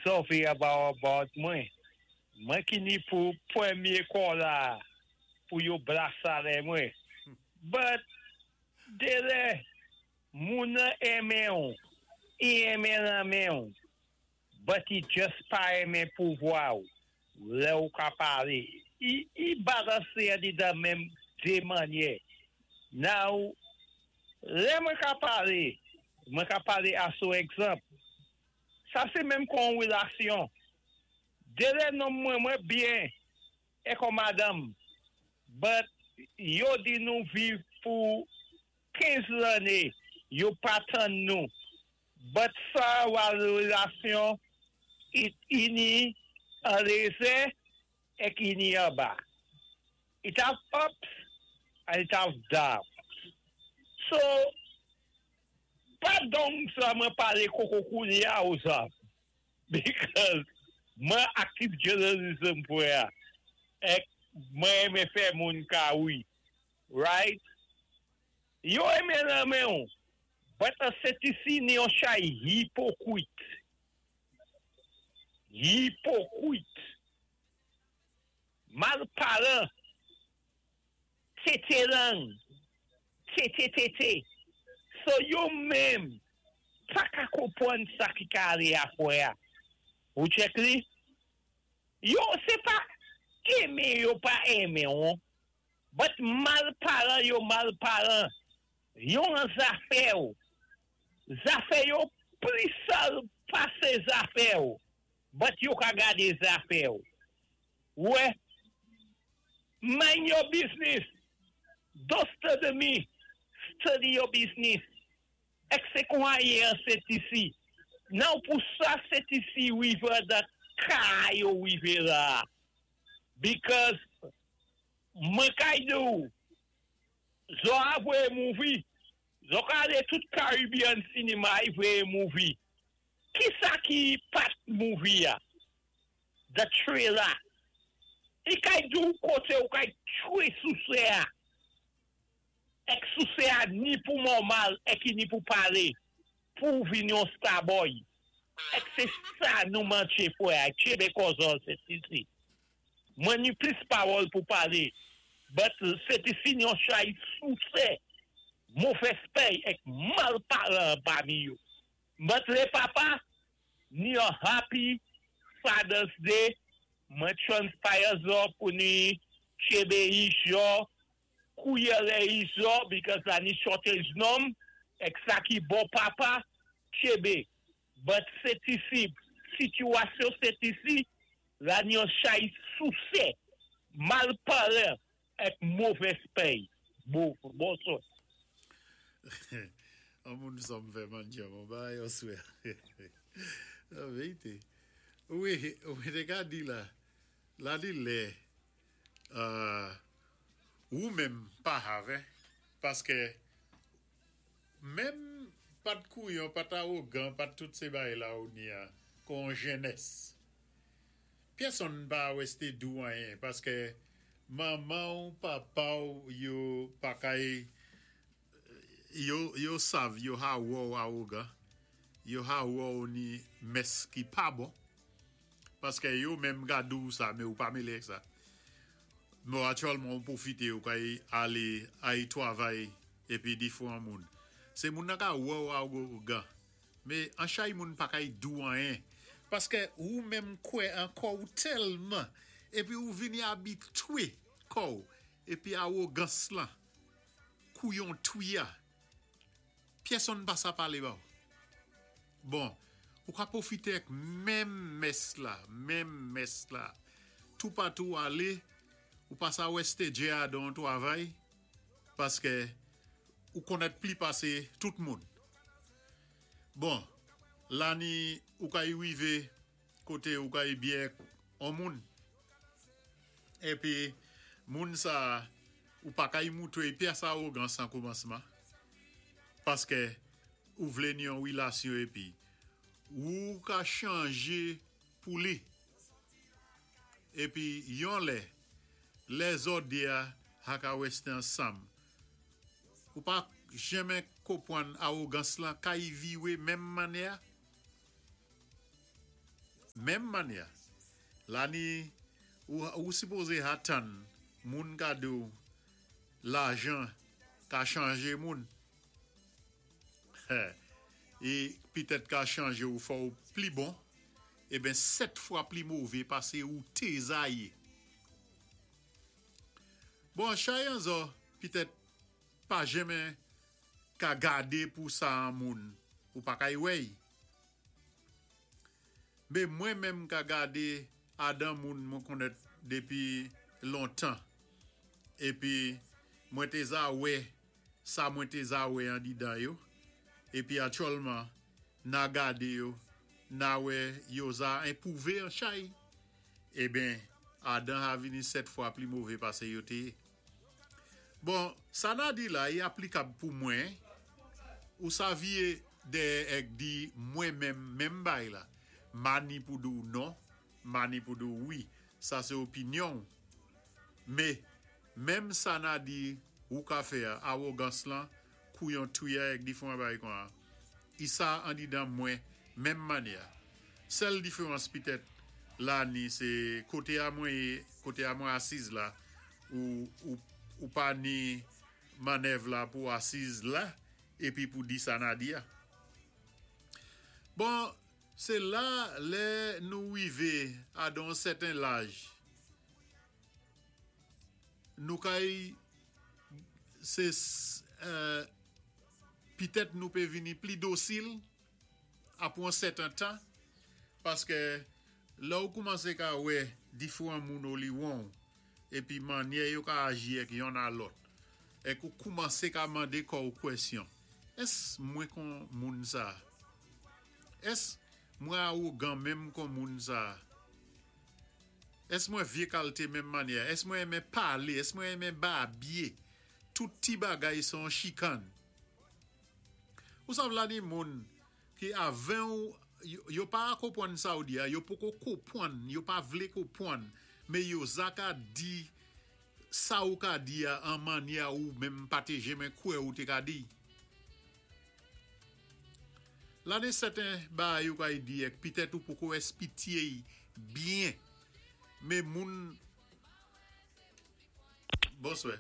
Zò vé about mwen. Mwen ki ni pou pwémyé kò la pou yo blasalè mwen. But, délè, moun nan enmen-w, i enmen lanmen-w, but i just pa enmen pouvwa-w, lè ou ka palé. I balansé a di dan menm dé mannyè. Now, lè mwen ka palé, mwen ka palé aso egzanp. Sa sé menm kon wélasyon. Délè nonm mwen mwen byen, é kon madanm, but yo di nou viv pou 15 lanné, yo pa tann nou. But sa wa wélasyon, it ini an lézè ek ini anba. It have ups and it have downs. So, pa donk sa mwen palé koko koulya ou sa. Because mwen active journalism pou ya. Ek mwen enmen fè moun ka wi. Right? Yo enmen lanmen ou. But an Sent-Lisi ni yon chay hypocrite. Hypocrite. Mal palan. Tété lang. Tété tété. So yo menm pa ka konpwann sa ki ka alé afwè a. Ou check li? Yo sé pa enmen yo pa enmen ou. But mal palan yo mal palan. Yo an zafè ou. Zafè yo pli sal pasé zafè ou. But yo ka gadé zafè ou. Wè. Mind your business. Don't study me. Study your business. Ek sé kon a yé an Sent-Lisi. Now pou sa Sent-Lisi wivé dan ka yo wivé la. Because mwen kay di ou, zo a vwé movie, zo ka alé tout Caribbean cinema yi vwé movie. Ki sa ki pat movie ya? The trailer. I kay di ou koté ou kay tchwé sousé a. Ek sousé a ni pou normal, ek ni pou palé. Pou vin yon starboy. Ek sé sa nou manché fwè a. Tchébé kò zò Sent-Lisi. Mwen ni plis pawòl pou palé. But Sent-Lisi ni yon chay sousé. Movès péy ek mal palan pami yo. But lé papa, ni yon happy Father's Day. Mwen transpire zo pou ni tchébé yi zo, kouye lé yi zo, because la ni shortage nonm, ek sa ki bon papa, tchébé. But Sent-Lisi, sitiyasyon Sent-Lisi, la ni yon chay sousé, mal palan, ek movès péy. Bon, bonswa. An moun sa m fè manja mon ba yo swè. La vérité. Wi, wi, te ka di la, la di lè, ou menm pa have, paské menm pat kouyon, pat awogan, pat tout sé bagay la ou ni a, kon jènès. Pèsonn pa wèsté di ou anyen, paské manman ou papa ou yo pa kay, yo sav, yo ha wè ou awogan, yo ha wè ou ni mès ki pa bon, paské yo menm gade ou sa, mé ou pa mélé ak sa. Mò aktyèlman ou pwofité ou kay alé ay twavay épi diféwan moun. Sé moun nan ka wè ou awogan, mé an chay moun pa kay di ou anyen. Paské ou menm kwè an kò ou tèlman, épi ou vini abitwé kò ou, épi awogans lan, kouyon touya, pèsonn pa sa palé ba ou. Bon, ou ka pwofité ak menm mès la, menm mès la. Toupatou alé, ou pa sa wèsté djé a don twavay, paské ou konnèt pli pasé tout moun. Bon, la ni ou kay wivé koté ou kay byen an moun. Épi moun sa ou pa kay moutwé pyès awogans an koumansman. Paské ou vlé ni yon wélasyon épi ou ka chanjé pou li. Épi yon lè, lè zò dé a ha ka wèsté ansanm. Ou pa jenmen konpwann awogans lan kay viwé menm mannyè. Menm mannyè, la ni ou sipozé atann moun ka di-w lajan ka chanjé moun. I pitèt ka chanje-w fè-w pli bon, eben 7 fwa pli mové pasé ou té za yé. Bon, chay an zò pitèt pa jenmen ka gadé pou sa an moun, ou pa kay wè-y. Mé mwen menm ka gadé adan moun mwen konnèt dépi lontan, épi mwen té za wè sa mwen té za wè andidan yo, épi aktyèlman na gadé yo, na wè yo za enpwouvé an chay, eben adan a vini 7 fwa pli mové pasé yo té yé. Bon, sa na di la i aplikab pou mwen, ou sa vié dèyè èk di mwen menm menm bay la. Ma ni pou di-w non, ma ni pou di-w wi. Sa sé opinyon-w. Mé, menm sa na di wou ka fè a, awogans lan, kouyon touya èk diféwan bagay kon a, i sa andidan mwen menm mannyè. Sèl diférans pitèt la ni sé koté a mwen yé, koté a mwen asiz la, ou ou pa ni mannèv la pou asiz la épi pou di sa na di a. Bon, sé la lè nou wivé a don sèten laj, nou kay sé pitèt nou pé vini pli dosil apwé on sèten tan, paskè lè ou koumansé ka wè diféwan moun oliwon-w épi mannyè yo ka aji èk yonn a lòt, èk ou koumansé ka mandé kò-w kwèsyon, Ès mwen kon moun sa? Ès mwen awogan menm kon moun sa? Ès mwen vyé kalté menm mannyè? Ès mwen renmen palé? Ès mwen renmen babyé? Tout ti bagay sé on chikann. Ou sav la ni moun ki avè-w yo pa konpwann sa ou di a, yo poko konpwann, yo pa vlé konpwann, mé yo za ka di sa ou ka di a an mannyè ou menm pa té jenmen kwè ou té ka di. La ni sèten bagay ou kay di èk pitèt ou poko èspitye-y byen, mé moun Bonswè.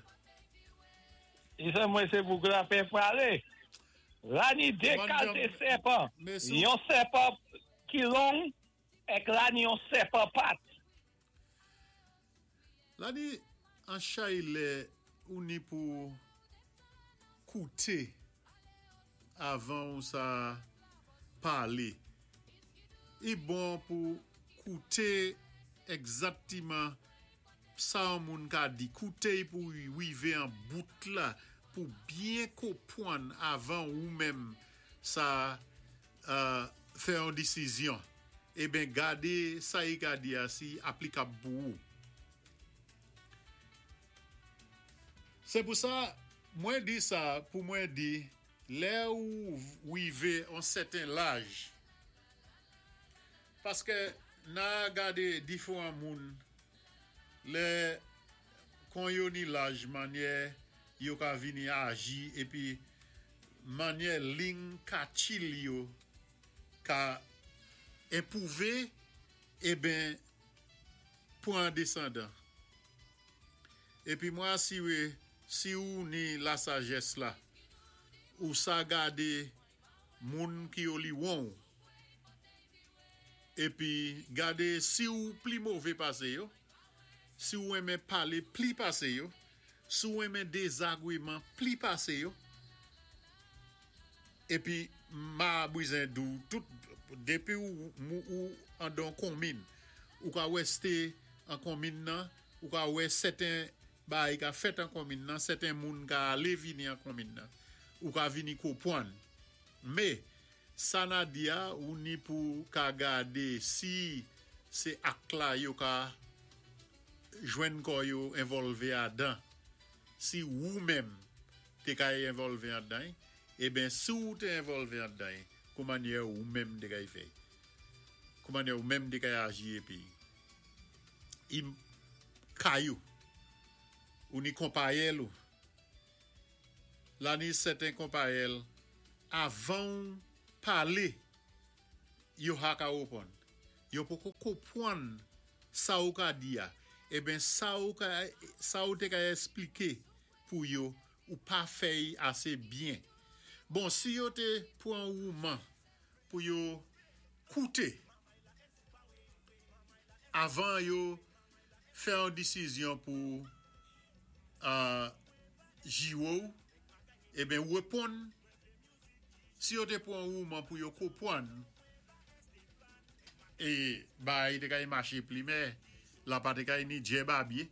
Isè mwen se bouk la fè prale. La ni de kalte sèpan, yon sèpan ki long èk la ni yon sèpan pat. La ni an chay lè ou ni pou koute avan ou sa pale. I bon pou koute ègzaktiman Sa yon moun ka di, koute y pou w wive an bout la pou byen konpwann avan ou menm sa fè yon desizyon. Eben gade sa y ka di a si aplikab pou ou. Se pou sa mwen di sa pou mwen di lè ou wive yon sèten laj Paskè na gade difwan moun lè kon yo ni laj manyè yo ka vini aji epi manyè ling katchil yo ka enpwouve eben pwan desandan. Epi mwen asire si ou ni lasajès la ou sa gade moun ki oliwon ou. Epi gade si ou pli move pase yo, si ou renmen pale pli pase yo, si ou renmen dezagreman pli pase yo. Epi ma bwizen di w tout, depi ou ou andan konmin, ou ka wè ste an konmin nan, ou ka wè sèten bagay ka fèt an konmin nan, sèten moun ka ale vini an konmin nan. Ou ka vini konpwann. Me, sa na di a, ou ni pou ka gade si sé ak la yo ka jwenn kò yo envòlvé adan. Si wou menm té ka envòlvé andan-y, eben si ou té envòlvé andan-y, kou mannyè ou menm té kay fè? Kou mannyè ou menm té kay aji épi i kay ou, ou ni konpayèl ou. La ni sèten konpayèl avanw pale yo ha ka reponn. Yo poko konpwann sa ou ka di a. Eben sa ou ka sa ou té ka èspliké pou yo ou pa fè-y asé byen. Bon si yo té pwan wouman pou yo kouté avan yo fè yon disizyon pou jiwe-w eben reponn si yo té pwan wouman pou yo konpwann é bagay té kay maché pli mè la pa té kay ni djè babye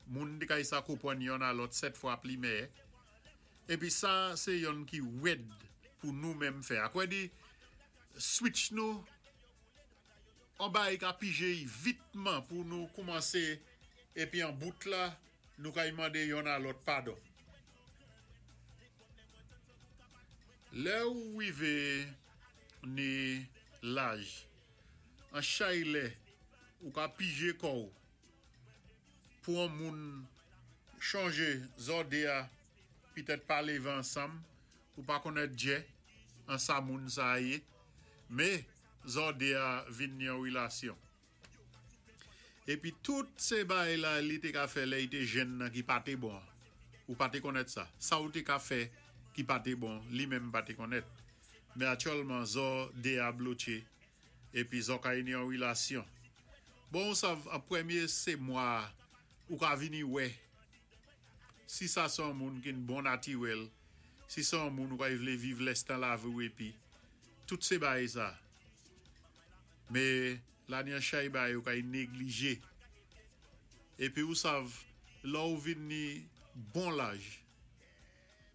moun té kay sa konpwann yonn a lòt 7 fwa pli mèyè épi sa sé yonn ki wèd pou nou menm fè akwè di switch nou on bagay ka pije-y vitman pou nou koumansé épi an bout la nou kay mandé yonn a lòt padon. Lè ou wivé ni laj an chay lè ou ka pije kò-w pou on moun chonjé zò dé a pitèt pa lévé ansanm ou pa konnèt djè an sa moun sa a yé mé zò dé a vin ni on wilasyon. Épi tout sé bagay la li té ka fè lè i té jenn nan ki pa té bon an ou pa té konnèt sa. Sa ou té ka fè ki pa té bon li menm pa té konnèt. Mé aktyèlman zò dé a blotché épi zò ka ni on wilasyon. Bon ou sav an pwèmyé sé mwa a ou ka vini wè si sa sé on moun ki-n bon natiwèl, si sé on moun ou kay vlé viv lèstan lavi-w épi tout sé bagay sa. Mé la ni an chay bagay ou kay néglijé. Épi ou sav lè ou vin ni bon laj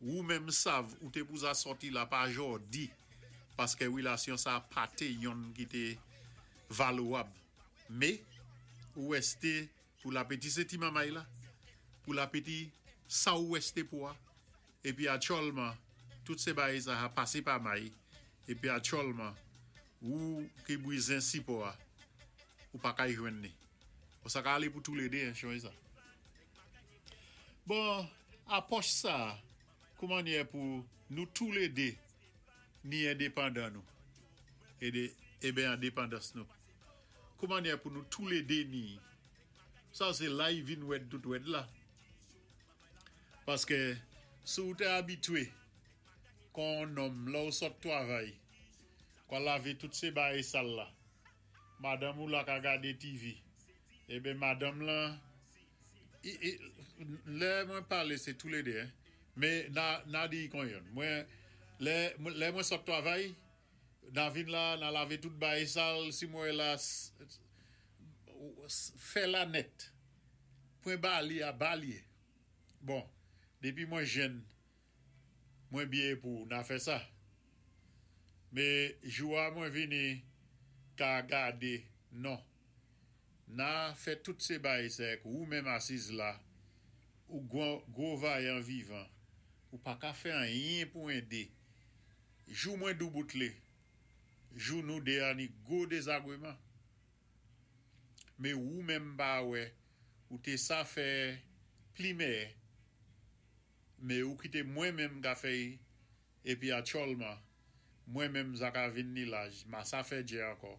wou menm sav ou té pou za sòti la pa jòdi paskè wilasyon sa pa té yonn ki té valowab. Mé ou wèsté pou lapeti sé ti mamay la, pou lapeti sa ou wèsté pou a. Épi aktyòlman tout sé bagay sa a pasé pa may épi aktyòlman wou ki bwizen sipò a ou pa kay jwenn ni. Bon sa ka alé pou toulédé hein chonjé sa. Bon apòch sa kou mannyè pou nou toulédé ni endepandan nou édé eben endepandans nou kou mannyè pou nou toulédé ni sa sé la i vin wèd tout wèd la. Paskè si ou té abitwé kon on nonm lè ou sot twavay kwa lavé tout sé bagay sal la madanm ou la ka gadé TV eben madanm lan lè mwen palé sé toulédé hein mé na di kon yonn mwen lè lè mwen sot twavay na vin la na lavé tout bagay sal si mwen la fè la nèt Pwen ba li a ba li. Bon, dépi mwen jenn, mwen biyé pou na fè sa. Mé jou a mwen vini ka gadé non. Na fè tout sé bagay sa èk wou menm asiz la, ou gwo vayan vivan, ou pa ka fè anyen pou édé. Jou mwen douboutlé, jou nou dé a ni gwo dézagwéman. Mé wou menm pa wè ou té sa fè pli mèyè mé ou kité mwen menm ka fè-y épi aktyòlman mwen menm za ka vin ni laj ma sa fè djè ankò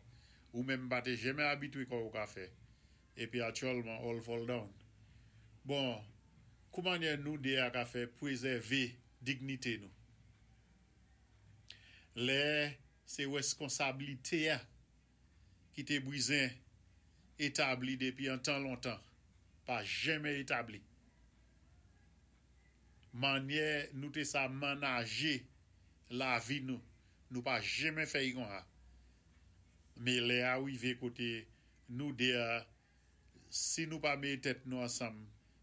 ou menm pa té jenmè abitwé kò ou ka fè épi aktyòlman all fall down. Bon koumannyè nou dé a ka fè pwézèvé dignité nou lè sé wèskonsablité a ki té bwizen établi dépi an tan lontan pa jenmè établi. Mannyè nou té sa mannajé lavi nou, nou pa jenmè fè-y konsa. Mé lè a wivé koté nou dé a si nou pa méé tèt nou ansanm,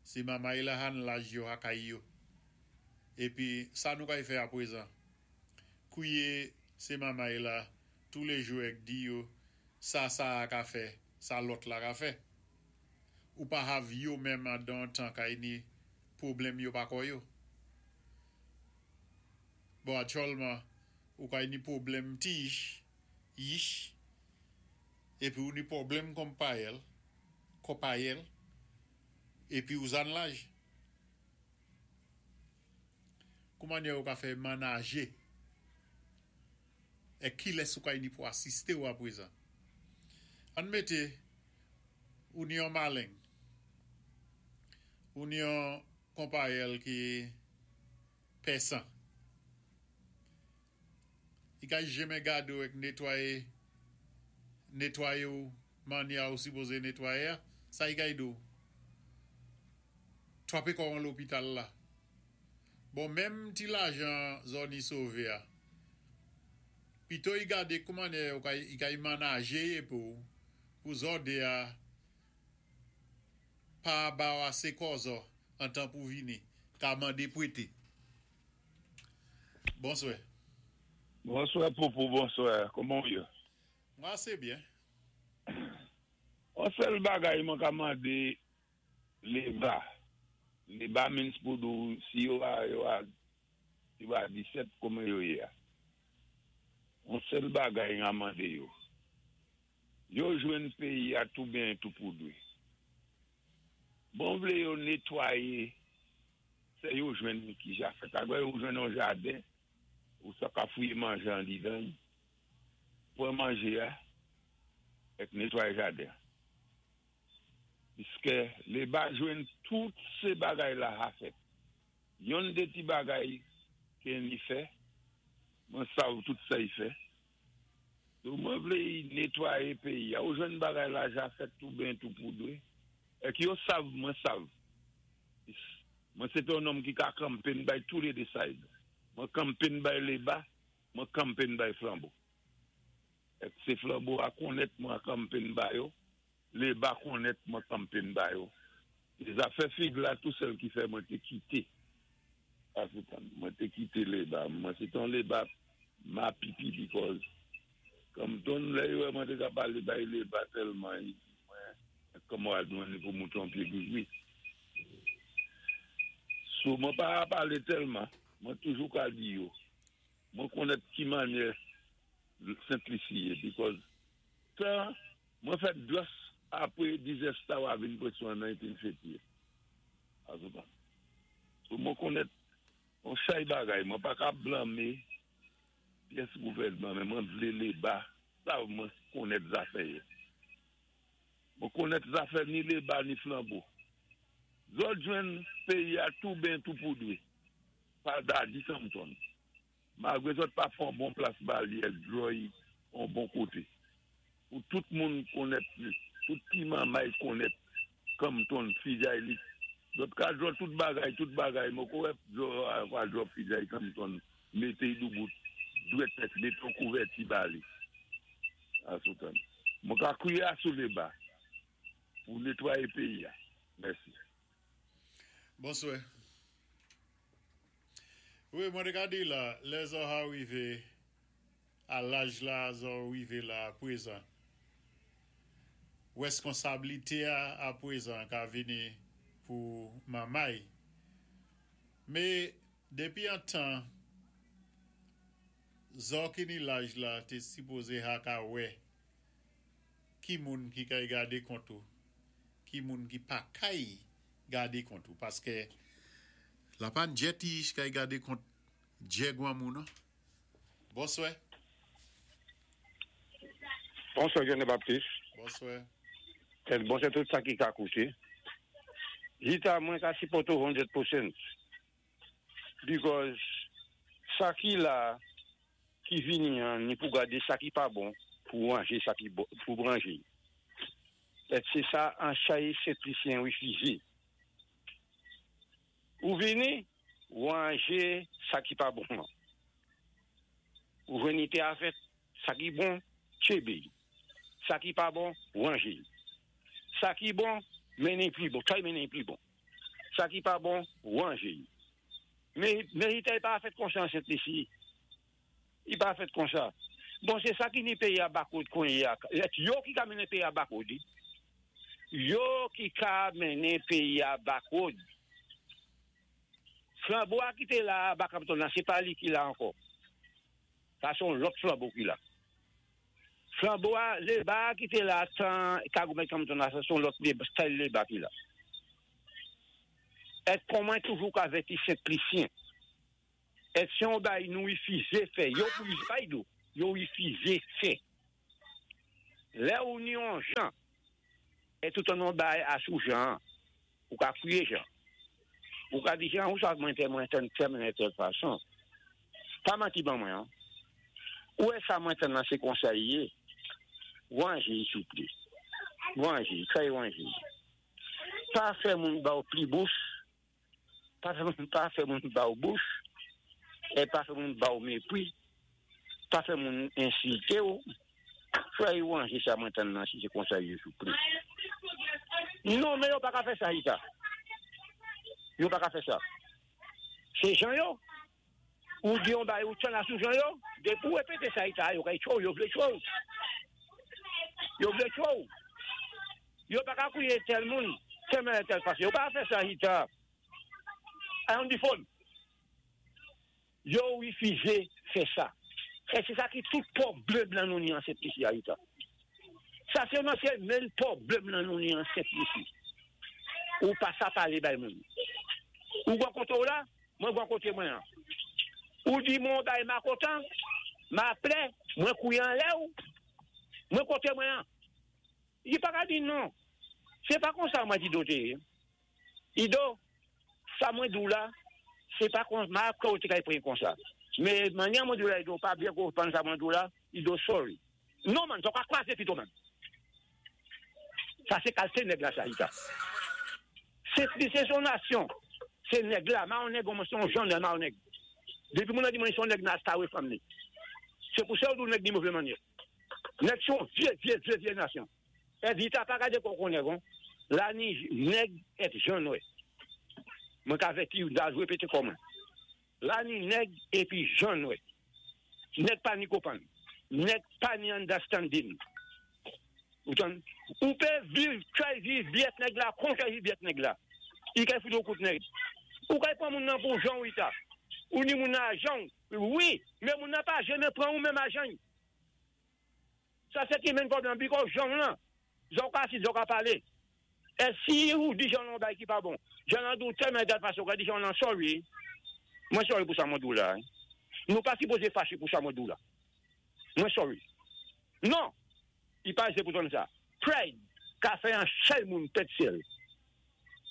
si mamay la han laj yo hakay yo. Épi sa nou kay fè apwézan? Kwié sé mamay la toulé jou èk di yo sa sa a ka fè, sa lòt la ka fè. Ou pa hav yo menm andan tan kay ni pwoblèm yo pa kò yo. Bon aktyòlman ou kay ni pwoblèm ti yich, yich, épi ou ni pwoblèm konpayèl, konpayèl, épi ou zan laj. Koumannyè ou ka fè mannajé èk kilès ou kay ni pou asisté ou apwézan? Ann mété ou ni yon maleng, ou ni yon konpayèl ki pèsan. I kay jenmen gade ou èk netwaye netwaye ou mannyè ou sipoze netwaye a, sa i kay di ou? Twape kò an lopital la. Bon menm ti lajan zò ni sove a, pito i gade koumannyè ou kay i kay manaje ye pou pou zò de a pa ba ou ase kòzò antan pou vini ka mande pwete. Bonswè. Bonswè Poupou, bonswè. Kouman ou yé? Mwen ase byen. On sèl bagay mwen ka mandé Leba. Leba means pou di w si yo a yo a yo a 17 kouman yo yé a. On sèl bagay m a mandé yo. Yo jwenn péyi a tou byen tou poudwé. Bon vlé yo netwaye sè yo jwenn ki ja fèt. Agwè yo jwenn yon jaden ou sa ka fouye manje andidan y, pran manje a èk netwaye jaden an. Piskè Leba jwenn tout sé bagay la ha fèt. Yonn dé ti bagay ké li fè, mwen sav tout sa y fè. So mwen vlé y netwaye péyi a. Ou jwenn bagay la ja fèt tou byen tou poudwé. Èk yo sav mwen sav. Mwen sé té yon nonm ki ka kanpenn bay tou lé dé side. Mwen kanpenn bay Leba, mwen kanpenn bay Flanbo. Èk sé Flanbo a konnèt mwen kanpenn ba yo, Leba konnèt mwen kanpenn ba yo. É zafè fig la tou sèl ki fè mwen té kité African. Mwen té kité Leba. Mwen sé té yon Leba mapipi because Compton lè yo wè mwen té ka palé bay Leba tèlman y di mwen kòman wal jwenn li pou mouton pyé grigri. So mwen pa palé tèlman. Mwen toujou ka di yo. Mwen konnèt ki mannyè Sent Lisi yé because tan mwen fèt just apwé disaster wa vin presyon an 1958. Azoutan. So mwen konnèt yon chay bagay. Mwen pa ka blanmé pyès gouvèdman men mwen vlé Leba sav mwen konnèt zafè yo. Mwen konnèt zafè ni Leba ni Flanbo. Zòt jwenn péyi a tou ben tou poudwé pa Dadi Compton. Malgwé zòt pa fè yon bon plas ba li èk djòy yon bon koté. Pou tout moun konnèt li, tout ti manmay konnèt Compton fijay li. Zòt ka djò tout bagay, tout bagay, mwen ko wè djò ka djò fijay Compton mété y doubout dwèt èk mété yon kouvèti ba li. Asoutan. Mwen ka kriye asou Leba pou netwaye péyi a. Mèsi. Bonswè. Wi, mwen té ka di la, lè zò ha rivé a laj la zò rivé la a pwézan, wèskonsablité a a pwézan ka vini pou manmay. Mé dépi an tan zò ki ni laj la té sipozé ha ka wè ki moun ki kay gadé kont ou, ki moun ki pa kay gade kont ou paskè la pa djè ti ich kay gade kont djè gwanmou non. Bonswè. Bonswè Jeune Baptiste. Bonswè. Et bonswè tout sa ki ka kouté. Jita mwen ka sipòté ou 100% because sa ki la ki vini an ni pou gadé sa ki pa bon pou ranje sa ki bon pou ranje. Et sé sa an chay Sent Lisyen wifizé. Ou vini, ranje sa ki pa bon an. Ou jwenn te a fèt, sa ki bon, tchébé. Sa ki pa bon, ranje. Sa ki bon, mennen pli bon, tray mennen pli bon. Sa ki pa bon, ranje. Men i pa fèt konsa an Sent Lisi. I pa fèt konsa. Bon, sé sa ki ni péyi a backward konnye a. Yo ki ka mennen péyi a backward. Yo ki ka mennen péyi a backward. Flanbo a ki té la ba Compton la, sé pa li ki la ankò. Sa sé yon lòt Flanbo ki la. Flanbo a, Leba ki té la tan Kagoumen Compton la, sa sé yon lòt Leba, style Leba ki la. Èt kon mwen toujou ka vèti Sent Lisyen. Èt sé yon bagay nou wifizé fè, yo pou pa yo, yo wifizé fè. Lè ou ni on jan, é tout an on bay asou jan, ou ka fwiyé jan. Ou ka di jan, ou sa mwen fè mwen tann fè mwen tèl fason. Pa manti ban mwen an. Ou wè sa mwen tann lan sé konsa i yé. Wanje souplé. Wanje, tray wanje. Pa fè moun ba ou pli bouch, pa fè moun pa fè moun ba ou bouch, é pa fè moun ba ou mépwi, pa fè moun ensilté ou. Tray wanje sa mwen tann lan si sé konsa i yé souplé. Non men yo pa ka fè sa Rita. Yo pa ka fè sa. Sé jan yo. Ou di on bagay ou tann asou jan yo, dépi ou répété sa Rita, yo kay tchwé ou, yo vlé tchwé ou. Yo vlé tchwé ou. Yo pa ka kwié tèl moun, tèl mannyè tèl fason. Yo pa ka fè sa Rita. I on the phone. Yo wifizé fè sa. É sé sa ki tout pwoblèm lan nou ni an Sent Lisi a Rita. Sa sé nan sé menn pwoblèm lan nou ni an Sent Lisi. Ou pa sa palé bay moun. Ou gwan koté ou la, mwen gwan koté mwen an. Ou di mwen on bagay ma kontan, ma plè, mwen kwié anlè ou, mwen koté mwen an. I pa ka di non. Sé pa konsa mwen di do té yé. Ido, sa mwen di ou la, sé pa kon, ma kwè ou té kay pran konsa. Men mannyè mwen di ou la Ido, ou pa byen konprann sa mwen di ou la, Ido sorry. Non man, sa ou ka kwazé pito man. Sa sé kalté nèg la sa Rita. Sent Lisi se yon nasyon. Se nèg la, ma yon nèg mwen se yon jan ma yon nèg. Dépi moun nan di mwen se yon nèg nan stay away from me. Se pou sa yo di ou nèg ni move mannyè. Nèg se yon vye vye vye vye nasyon. É Rita pa gadé kò kon nèg on. La ni nèg èt jan nwè. Mwen ka vèti ou da répété kò mwen. La ni nèg épi jan nwè. Nèg pa ni konprann. Nèg pa ni understanding. Ou tann? Ou pé viv, try viv byèt nèg la, kon try viv byèt nèg la. I kay fout ou kout nèg. Ou kay pran moun nan pou jan ou Rita. Ou ni moun nan a jan ou. Wi, men moun nan pa janmen pran ou menm a jan. Sa sé ki menn pwoblèm because jan ou lan, jan ou ka asid, jan ou ka palé. É si ou di jan lan yon bagay ki pa bon, jan lan di ou tèl mannyè tèl fason, ou ka di jan lan sorry, mwen sorry pou sa mwen di ou la. Nou pa sipoze faché pou sa mwen di ou la. Mwen sorry. Non! I pa ese pou tann sa. Pride ka fè yon chay moun pèd syèl.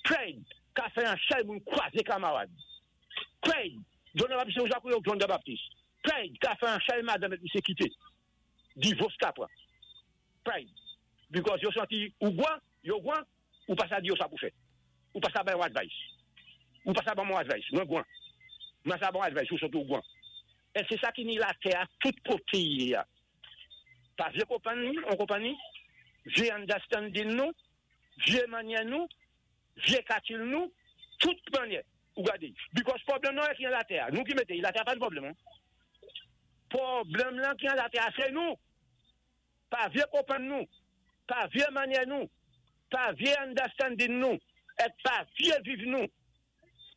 Pride ka fè yon chay moun kwazé kamarad. Pride, John the Baptist se ou sa kou yo John the Baptist. Pride ka fè yon chay madanm èt misye kité. Divos ka pran. Pride. Because yo santi ou gwan, yo gwan, ou pa sa di yo sa pou fè. Ou pa sa bay yon advice. Ou pa sa ban mwen advice. Mwen gwan. Mwen sa ban advice, ou santi ou gwan. É sé sa ki ni latè a tout koté i yé a. Pa vye konpann ni, on konpann ni, vye understanding nou, vye mannyè nou, vye katil nou, tout mannyè. Ou gadé. Because pwoblèm nan ki an latè a. Nou ki mété. Latè a pa ni pwoblèm. Hein? Pwoblèm lan ki an latè a sé nou. Pa vye konpann nou, pa vye mannyè nou, pa vye understanding nou, èt pa vye viv nou.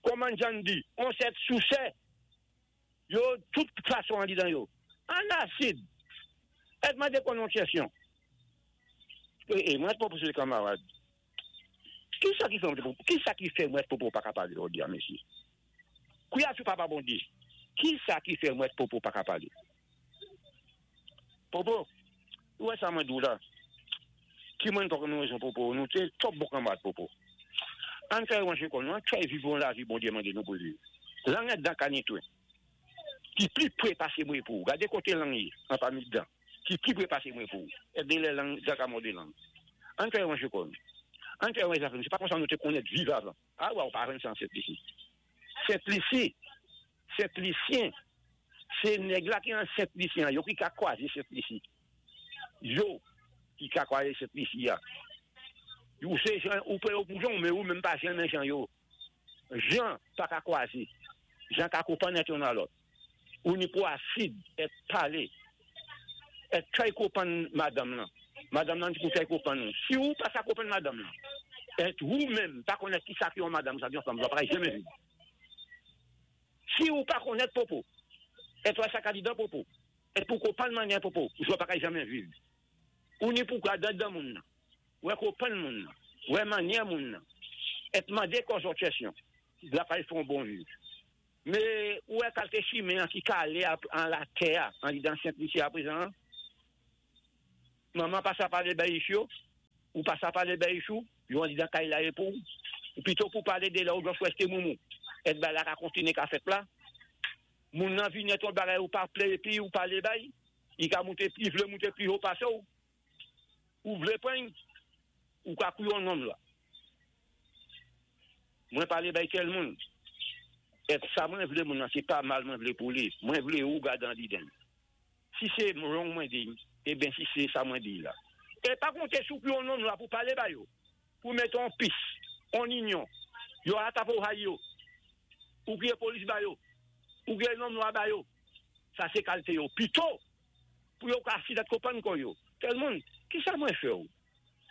Kòman jan di, on sèt sousè, yo tout fason an didan yo. An asid, èt mande konn on kesyon. E, e, mwen èt pwopoze kamarad. Ki sa ki fè mwen, ki sa ki fè mwen popo pa ka palé jodi a mesye? Kouya sou papa Bondye, ki sa ki fè mwen popo pa ka palé? Popo, ou wè sa mwen di ou la? Ki mwen pa konn rezon popo, nou té twòp bon kanmarad popo. Ann tray ranje kò nou, ann tray viv yon lavi Bondye mande nou pou viv. Lang ak dan ka netwe. Ki pli pre pase mwen pou ou. Gade kote lang ye, an pami dan. Ki pli pre pase mwen pou ou. Èt de lè lang, dan ka mòde lang. Ann tray ranje kò nou. Ann tray ranje zafè nou. Se pa konsa nou te konnèt viv avan. A wa ou pa jwenn sa an Sent Lisi. Sent Lisi, Sent Lisyen, se nèg la ki an Sent Lisi an, yo ki ka kwaze Sent Lisi. Yo ki ka kwaze Sent Lisi a. Ou se jan, ou pran yo pou jan ou, men ou menm pa janmen jan yo. Jan pa ka kwaze. Jan ka konpann èt youn a lòt. Ou ni pou asid èt pale. Èt tray konpann madanm lan. Madanm lan ni pou tray konpann ou. Si ou pa sa konpann madanm lan, èt ou menm pa konnèt ki sa ki yon madanm, sa ki yon fanm, ou pa ka janmen viv. Si ou pa konnèt popo, èt wè sa ka di dan popo, èt pou konpann mannyè popo, ou pa ka janmen viv. Ou ni pou gad dan moun nan, wè konpann moun nan, wè mannyè moun nan, èt mande kò zòt kèsyon, la pral fè yon bon viv. Men ou wè kalte chimen an ki kale an latè a, andidan Sent Lisi aprezan an? Manman pa sa palé bay ich yo, ou pa sa palé bay ich ou, yo andidan kay la é pou ou pito pou palé de lè ou just rèsté moumou. Èt bay la ka kontiné ka fèt la. Moun nan vini èt yon bagay ou pa plé épi ou palé bay, i ka moute i vlé moute pi ho pase w. Ou vlé pran y, ou ka kou yon nonm la. Mwen palé bay kèl moun. Èt sa mwen vlé moun nan sé pa mal mwen vlé pou li, mwen vlé ou gad andidan y. Si sé wrong mwen di, eben si sé sa mwen di la. E pa konté sou pou yon nonm la pou palé ba yo. Pou mete on peace, on inyon. Yo ata pou hay yo. Ou kriyé polis ba yo. Ou kriyé nonm nwa ba yo. Sa sé kalte yo. Pito pou yo ka sidat konprann kò yo. Tèl moun, kisa mwen fè ou?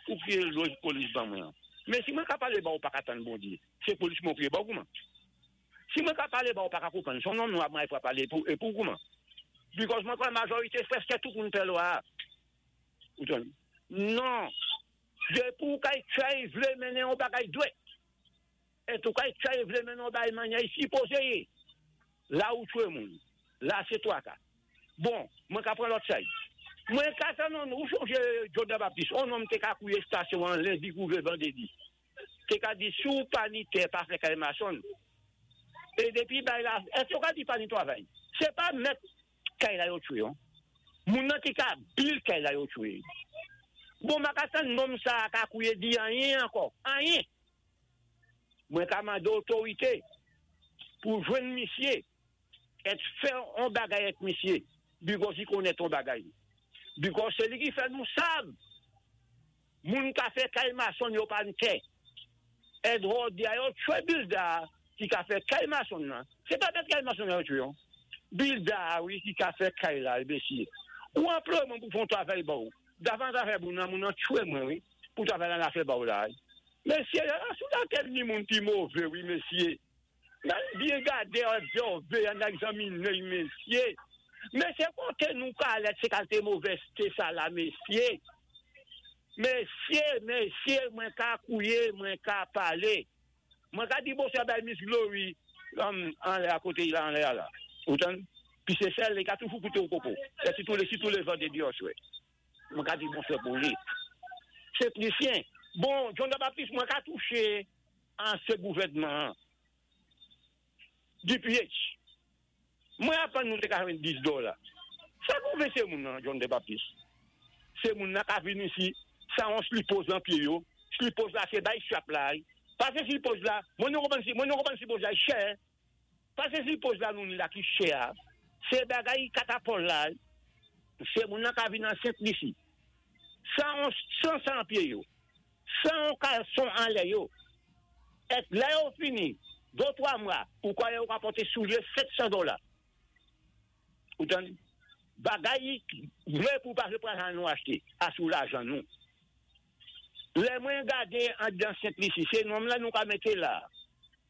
Ou kriyé lòj polis ban mwen an. Men si mwen ka pale ba ou pa ka tann Bondye. Se polis mwen ou kriyé ba ou kouman? Si mwen ka pale ba ou pa ka konprann. Son nonm nwa mwen ay pra pale pou e pou kouman? Because mwen kwè majorite prèske tout moun pè lwa a. Ou tann? Non. Depi ou kay try vle mennen yon bagay dwèt. Et ou kay try vle mennen yon bagay manyè i sipoze ye. La ou tchwe moun. La se twaka. Bon, mwen ka pran lòt side. Mwen ka tann on, ou sonje John the Baptist, on nonm te ka kouye stasyon an lendi kou rive vandredi. Te ka di si w pa ni tè pa fè kay mason. E depi bay la, èske yo ka di pa ni twavay? Se pa mèt kay la yo tchwe on. Moun nan ki ka bil kay la yo tchwe. Bon m pa ka tann nonm sa a ka kouye di anyen ankò. Anyen! Mwen ka mande otorite pou jwenn misye et fè on bagay ak misye because li konnen ton bagay. Because se li ki fè nou sav moun ka fè kay mason yo pa n tè. Et jodi a yo tchwe builder a ki ka fè kay mason nan. Se pa bèt kay mason nan yo tchwe non. Builder a wi ki ka fè kay la mesye. Ou anploye mwen pou fè on travay ba ou. Davan zafè moun nan, moun nan tchwe mwen wi pou travay la nan fè ba ou la. Mesye la sou latè ni moun pi move wi mesye. Nan byen gade obsève an egzamine mesye. Mesye kote nou ka ale ak se kalte movèzte sa la mesye. Mesye, mesye mwen ka kouye, mwen ka pale. Mwen ka di bonswa bay Miss Glory anlè a kote la anlè a la. Ou tann? Pi se sèl li ka toujou koute ou koko. Lè sitou le sitou le vandredi oswè. Mwen ka di bonswa pou li. Se plisyen. Bon, John the Baptist mwen ka touche ansyen gouvènman an. DPH. Mwen aprann nou te ka jwenn 10 dola. Sa pwouve se moun nan John the Baptist. Se moun nan ka vin isi san yon slipoz lan pye yo. Slipoz la se bay strap la. Pase slipoz la, mwen nou konprann mwen nou konprann slipoz la chè. Pase slipoz la nou ni la ki chè a. Se bagay katapòl la. Se moun nan ka vin an Sent Lisi. San yon san sa an pye yo. 100 yon kalson anlè yo. Et lè yo fini, do 3 mwa, ou kwè yo ka pote soulye 700 dola. Ou tande? Bagay vre pou pa vle pran lajan nou achte, a sou lajan nou. Lè mwen gade andan Sent Lisi, se nonm la nou ka mete la.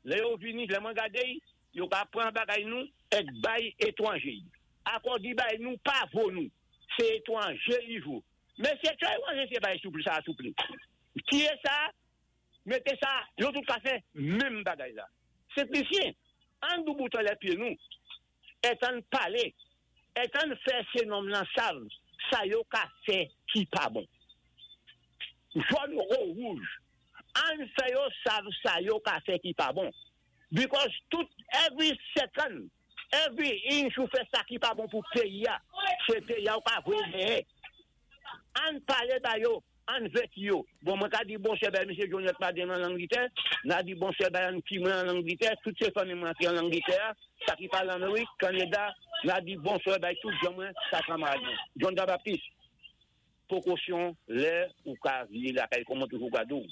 Lè yo vini, lè mwen gade, yo ka pran bagay nou et bay etwanje. Akò di bay nou pa vo nou. Se etwanje li vo. Mesye tray ranje se bay souple sa souple. Tiye sa, mete sa, yo tout ka fè menm bagay la. Senplisyen, ann doubout anlè pye nou, et ann pale, et ann fè se nonm lan sav sa yo ka fè ki pa bon. Jòn ou wouj, ann fè yo sav sa yo ka fè ki pa bon. Because tout every second, every inch ou fè sa ki pa bon pou peyi a, se peyi a ou ka voye dèyè. Ann pale ba yo, ann vèti yo. Bon mwen ka di bonsè bay mesye Johnette Madin nan Langlitè, na di bonsè bay ann ti mwen an Langlitè, tout se fanmi mwen ki an Langlitè a, sa ki pa Lanmerik, Kaneda, na di bonsè bay tout jan mwen, sa kanmarad mwen. John the Baptist, pokosyon lè ou ka vye lakay kòman toujou gade w.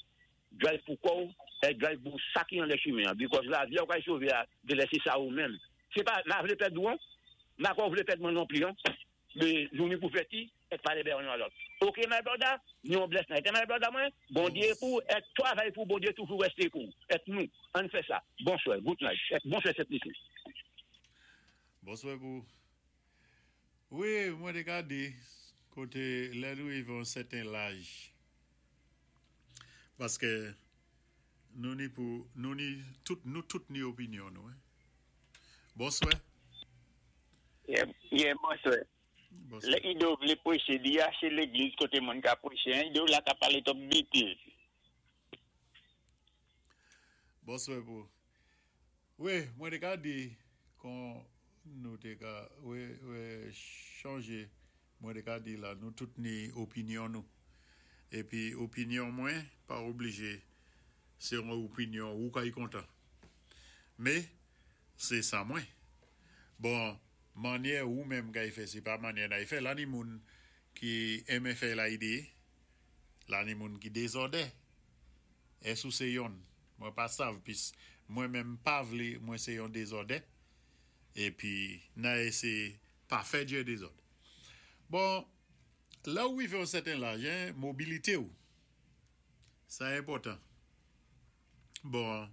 Drive pou kòw e drive pou sa ki anlè chimen an because lavi a ou kay sove a genlè se sa ou menm se pa ma vle pèd ou an ma kwè ou vle pèd mwen non pli an me nou ni pou vèti et pale bè yon a lòt ok my brother ni yon bless night my brother mwen Bondye pou et travay pou Bondye toujou reste pou et nou ann fè sa bonswè good night et bonswè sent lisi. Bonswè pou Wi mwen te ka di kote lè nou rive yon sèten laj paske nou ni pou nou ni tout nou tout ni opinyon nou wi. Bonswè. Yeah bonswè. Bonswa. Lè Ido vlé pwéché li aché légliz koté moun ka pwéché an Ido la ka palé twòp bétiz. Bonswa pou wi mwen te ka di kon nou te ka wi wi chanje mwen te ka di la nou tout ni opinyon nou epi opinyon mwen pa oblije se yon opinyon ou kay kontan me se sa mwen bon manyè ou menm kay fè se pa manyè nay fè la ni moun ki enmen fè la ide la ni moun ki dezòdè Èske ou se yonn? Mwen pa sav pis mwen menm pa vle mwen se yon dezòdè epi nan eseye pa fè dye dezòd. Bon, lè ou rive yon sèten laj hein, mobilite ou sa enpòtan. Bon,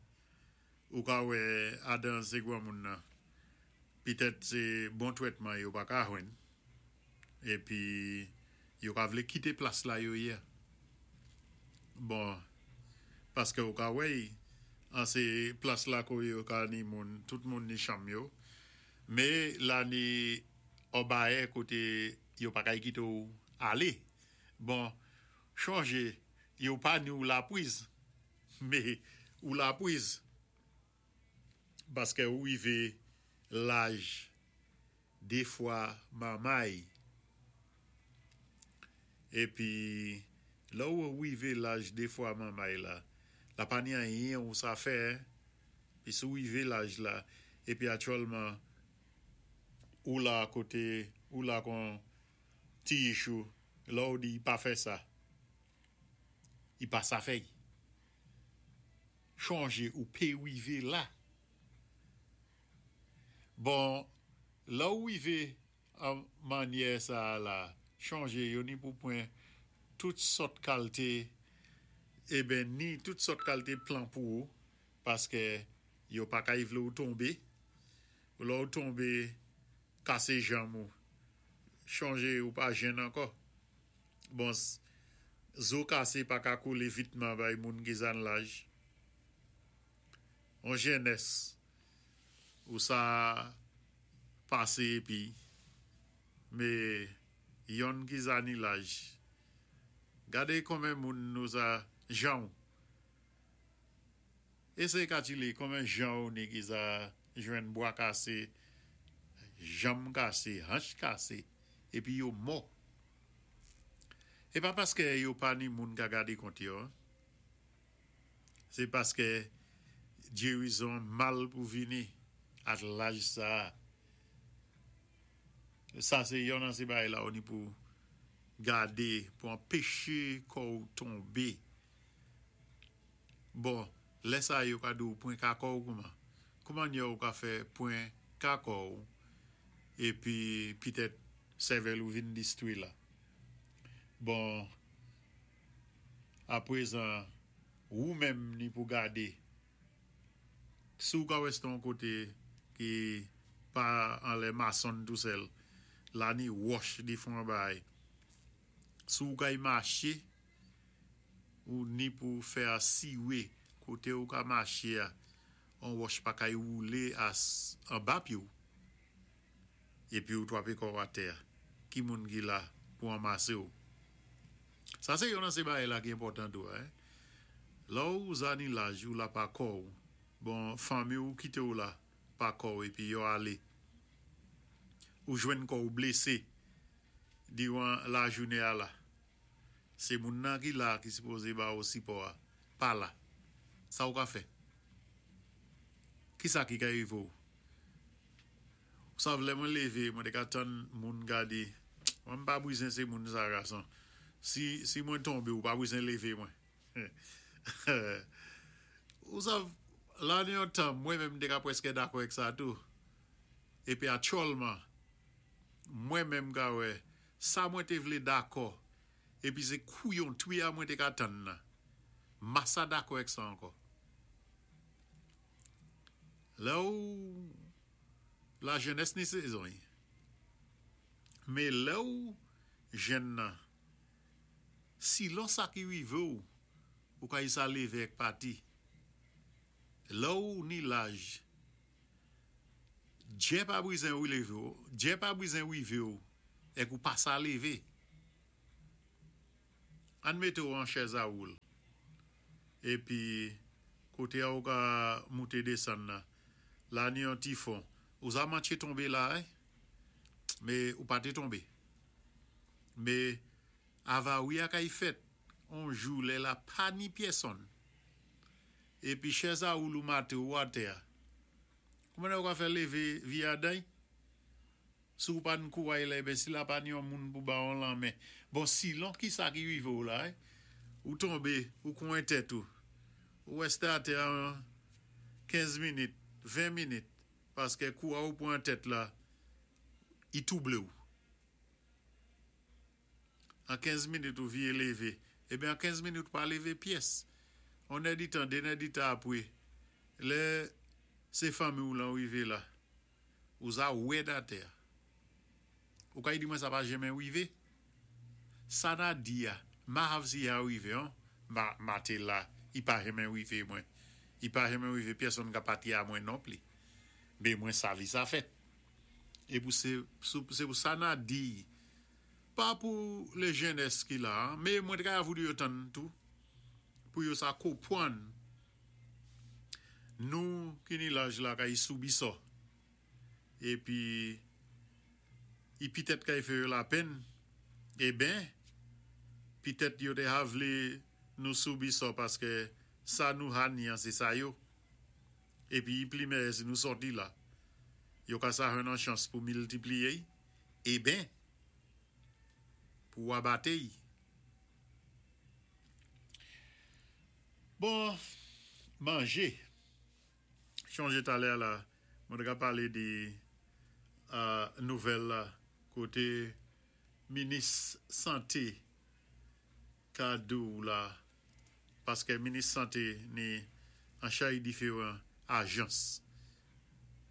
ou ka wè adan se granmoun nan pitèt se bon trètman yo pa ka jwenn epi yo ka vle kite plas la yo ye a. Bon, paske ou ka wè y an se plas la ko yo ka ni moun, tout moun ni chanm yo, me la ni on bayè kote yo pa kay kite w ale. Bon, chonje yo pa ni w lapwiz, me ou lapwiz paske ou rive laj defwa manmay. Epi lè ou rive laj defwa manmay la, la pa ni anyen ou sa fè, pi si ou rive laj la, epi aktyèlman ou la kote ou la kon ti ichou, lè ou di pa fè sa, i pa sa fè. Chonje ou pe rive la. Bon, lè ou rive an manyè sa a la, chonje yo ni pou pwen tout sòt kalte eben ni tout sòt kalte plan pou ou paske yo pa kay vle ou tonbe. Lè ou tonbe kase janm ou, chonje ou pa jenn ankò. Bon, zo kase pa ka kole vitman bay moun ki zan laj. On jennès ou sa pase epi me yonn ki za ni laj gade konmen moun nou za janw eseye katile konmen janw ni ki za jwenn bwa kase janm kase hanch kase epi yo mò e pa paske yo pa ni moun ka gade kont yo. Se paske gerizon mal pou vini ak laj sa a. Sa se yon nan se bagay la ou ni pou gade pou anpeche kò ou tonbe. Bon, lè sa yo ka di ou pwen ka kò ou kouman? Kouman nye ou ka fè pwen ka kò ou epi pitèt sèvèl ou vin distwi la? Bon. Aprezan, wou menm ni pou gade. Si w ka wè se yon kote ki pa anlè masonn tou sèl, la ni wòch difran bay. Si w kay mache, ou ni pou fè asire kote ou ka mache a, yon wòch pa kay woule as anba pye w. Epi ou twape kò w atè a. Ki moun ki la pou anmase w? Sa se yon nan se bagay la ki enpòtan tou a. Lè w zani laj ou la pa kò w, bon fanmi w kite w la pa kò w epi yo ale. Ou jwenn kò w blese diran lajounen a la. Se moun nan ki la ki sipoze ba ou sipò a pa la. Sa ou ka fè? Kisa ki ka rive w? Ou sav lè mwen leve mwen te ka tann moun gade mwen m pa brizen se moun sa gason si si mwen tonbe ou pa brizen leve mwen ou sav la nan yon tan mwen menm m te ka prèske dakò ek sa tou epi atyòlman mwen menm ka wè sa mwen te vle dakò epi se kouyon twi a mwen te ka tann nan masa dakò ek sa ankò lè ou La jenès ni sezon y. Me lè ou jenn nan, silon sa ki rive ou, ou ka isa leve èk pati. Lè ou ni laj, djè pa brizen ou leve ou, djè pa brizen rive ou. Èk ou pa sa lévé. Ann mété ou an chèz a woul. Épi koté a ou ka mouté désann nan, la ni yon ti fon. Ou sa mantché tonbé la eh. Mé ou pa té tonbé. Mé avari a kay fèt on jou lè la pa ni pyèsonn. Épi chèz a woul ou maté ou atè a. Kouman ou ka fè lévé vi aday? Si ou pa n kouray la eben si la pa n yon moun pou ba on lanmen. Bon silon kisa ki rive w la eh? Ou tonbe, ou kwen tèt ou. Ou rèste atè a 15 minit, 20 minit paskè kou a ou pran tèt la i twouble w. An 15 minit ou vye leve. Eben an 15 minit ou pa leve pyès. On èditan, de nèditan apre, lè se fanmi w lan rive la, ou za wèd atè a. Ou kay di mwen sa pa jenmen rive? Sa na di a, ma hav si ya rive an, ma, ma te la, i pa jenmen rive mwen. I pa jenmen rive pyèsonn ka pati a mwen nonpli. Men mwen savi sa fèt. E pou se, se pou sa na di, pa pou le jenès ki la, men mwen te ka voudou yo tann tou, pou yo sa konpwann nou ki ni laj la kay soubi sò. Épi i pitèt kay fè yo lapenn, eben, pitèt yo te ha vlé nou soubi sò paskè sa nou ha ni an sé sa yo. Épi i pli mèyè si nou sòti la. Yo ka sa jwenn an chans pou miltipliyé y, eben, pou abaté y. Bon, manjé. Chonjé talè la, mwen té ka palé di nouvèl la koté minis santé ka di w la paskè minis santé ni an chay diferan ajans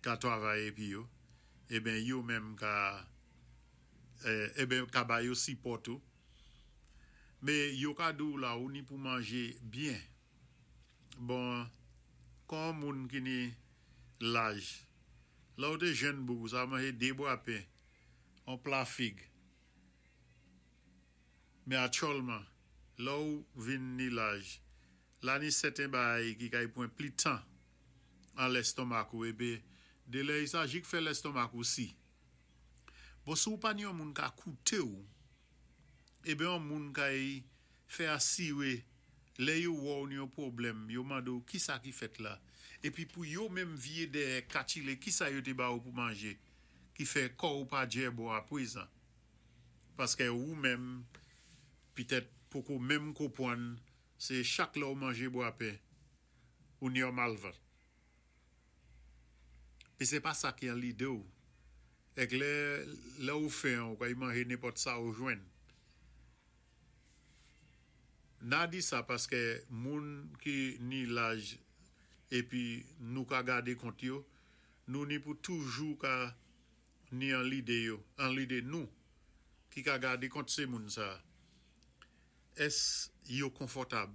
ka travay épi yo eben yo menm ka eben ka ba yo sipò tou mé yo ka di w la ou ni pou manjé byen bon kon on moun ki ni laj lè ou té jèn boug ou sa manjé 2 bwa pen on pla fig Men aktyòlman, lè ou vin ni laj, la ni sèten baay ki kay pwan pli tan an lèstonmak ou epe de lè i sa jik fè lèstonmak ou si. Bon si ou pa ni yon moun ka koute ou, ebe yon moun kay fè asire lè yo wè ou ni yon pwoblèm, yo mande ou kisa ki fèt la, epi pou yo menm vye dèyè katchile kisa yo te ba ou pou manje ki fè kò ou pa djè bon apwezan. Paskè ou menm pitèt poko menm konpwann sé chak lè ou manjé bwa pen ou ni yon mal vant. Pi sé pa sa ki an lidé ou. Èk lè lè ou fen ou kay manjé nenpòt sa ou jwenn. Na di sa paskè moun ki ni laj épi nou ka gadé kont yo, nou ni pou toujou ka ni an lide yo, an lide nou ki ka gade kont se moun sa. Ès yo konfòtab?